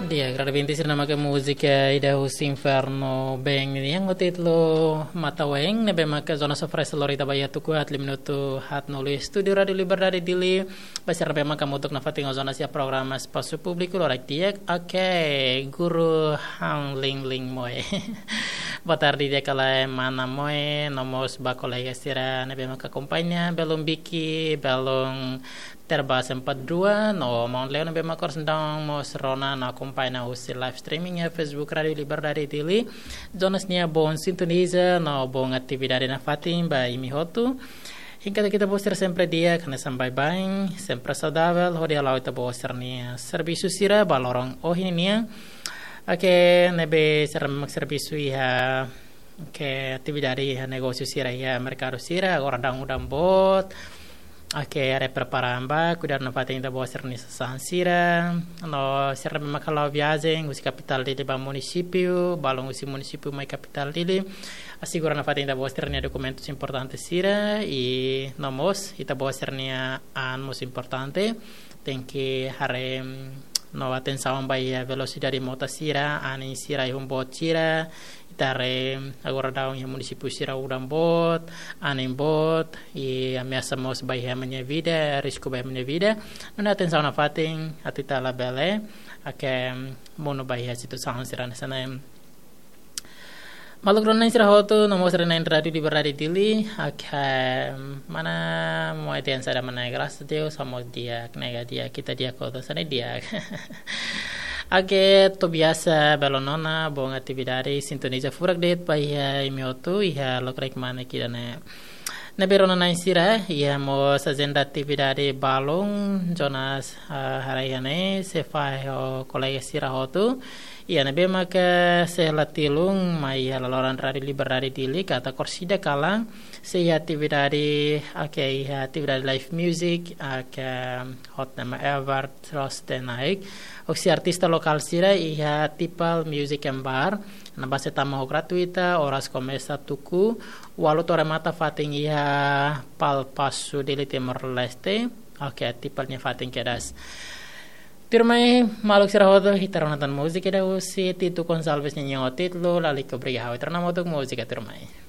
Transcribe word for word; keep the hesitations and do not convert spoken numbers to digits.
Di'ak, rai-bente sira, ne'e maka múzika ida husi Inferno Band nian ho títulu Mata Weng, ne'ebé maka Jonas Sofres lori ita ba iha tuku haat, lima minutu haat no lulik. Estúdiu Rádiu Liberdade Dili, ba sira ne'ebé maka hamutuk nafatin ho Jonas iha programa Espasu Públiku, loron di'ak. Oke, Guru Hang Ling Ling Moe. Boa tarde di'ak ka lae mana Moe, no mós ba kolega sira ne'ebé maka akompaña, belun Biki, belun Terbas empat dua, no maun Leo ne'ebé maka oras ne'e daudaun mós rona no akompaña husi live streaming iha Facebook Rádiu Liberdade Dili. Jonas nia bom sintoniza no bom atividade nafatin ba imi hotu. Hein katak ita-boot sira sempre di'ak, hanesan baibain, sempre saudavel, hodi hala'o ita-boot sira-nia servisu sira ba loron ohin nian. Oke, ne'ebé sira mak servisu iha, oke, atividade iha negósiu sira iha merkadu sira, agora daudaun udan boot. Oke, haree prepara an ba, kuidadu nafatin ita-boot sira-nia sasán sira. No sira ne'ebé maka hala'o viajen husi kapitál Dili ba munisípiu, balun husi munisípiu mai kapitál Dili, asegura nafatin ita-boot sira-nia dokumentus importante sira, i no mós ita-boot sira-nia an mós importante. Tenke haree, mm, no atensaun ba iha velosidade mota sira, anin sira, anin boot sira. Ita haree agora daudaun iha munisípiu sira udan boot, anin boot, i ameasa mós ba iha ema nia vida, risku ba ema nia vida. Nune'e atensaun nafatin, atu ita labele, oke, monu ba iha situasaun sira hanesan ne'e. Maluk rona-na'in sira hotu, no mós rona-na'in Rádiu Liberdade Dili, oke, mana Moe dehan saida, mana, graças a Deus, hamoos di'ak, nega di'ak, ita di'ak hotu, hanesan ne'e di'ak. Oke, to'o biasa, belun nona, bom atividade, sintoniza furak de'it ba iha imi hotu, iha lokraik mane ida-ne'e. Ne'ebé rona-na'in sira, iha mós ajenda atividade balun, Jonas, ah, haree iha ne'e, sei fahe ho kolega sira hotu. Iha ne'ebé maka sei la tilun mai iha laloran Rádiu Liberdade Dili, katak orsida kalan, sei iha atividade, oke, iha atividade live music, oke, hot nama Ever Troste Naik. Hosi artista lokál sira iha Tipal Music and Bar. Ne'ebá sei tama ho gratuita, oras komesa tuku ualu to'o remata fatin iha Pal Pasu Dili, Timor-Leste. Oke, Tipal nia fatin kedas. Tuirmai, maluk sira hotu, ita rona tan múzika ida husi Tito Gonçalves nia nyanyian ho títulu Lalika Obrigadu. Ita rona hamutuk múzika, tuirmai.